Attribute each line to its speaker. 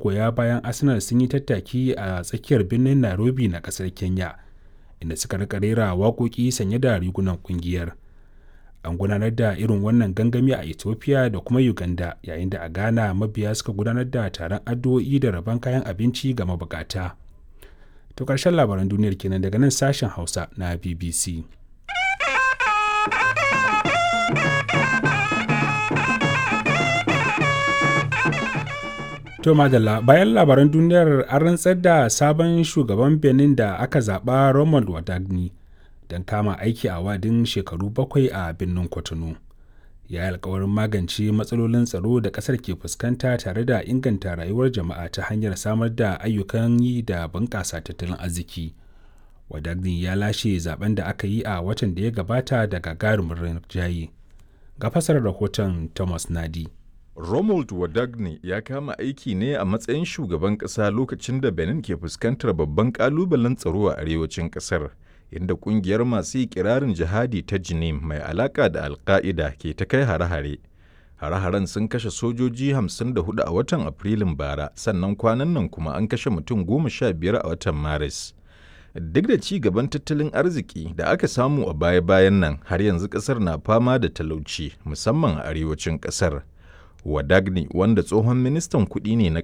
Speaker 1: Magoya bayan Arsenal sun yi tattaki a tsakiyar birnin Nairobi na kasar Kenya, inda suka rika rera waƙoƙi sanye da rigunan kungiyar. An gudanar da irin wannan gangami a Ethiopia da kuma Uganda, yayin da a Ghana mabiya suka gudanar da taron addu'o'i da rabon kayan abinci ga mabukata. To ƙarshen labaran duniyar kenan daga nan sashen Hausa na BBC. To madalla, bayan labaran duniyar, an rantsar da sabon shugaban Benin da aka zaɓa, Romuald Wadagni, don kama aiki a wadin shekaru 7 a birnin Cotonou. Ya yi alkawarin magance matsalolin tsaro da ƙasar ke fuskanta tare da inganta rayuwar jama'a ta hanyar samar da ayyukan yi da bunƙasa tattalin arziki. Wadagni ya lashe zaben da aka yi a watan da ya gabata da gagarumin rinjaye. Ga fasarar rahoton Thomas Nadi.
Speaker 2: Romuald Wadagne ya kama aiki ne a matsayin shugaban ƙasa lokacin da Benin ke fuskantar babban ƙalubalen tsaro a arewacin ƙasar, inda ƙungiyar masu ikirarin jihadi ta Jinim mai alaƙa da Al-Qaida ke ta kai hare-hare. Hare-haren sun kashe sojoji 54 a watan Afrilun bara, sannan kwanan nan kuma an kashe mutum 15 a watan Maris. Duk da ci gaban tattalin arziki da aka samu a baya-bayan nan, har yanzu ƙasar na fama da talauci, musamman a arewacin ƙasar. Wadagni, wanda tsohon ministan kuɗi ne na ƙasar,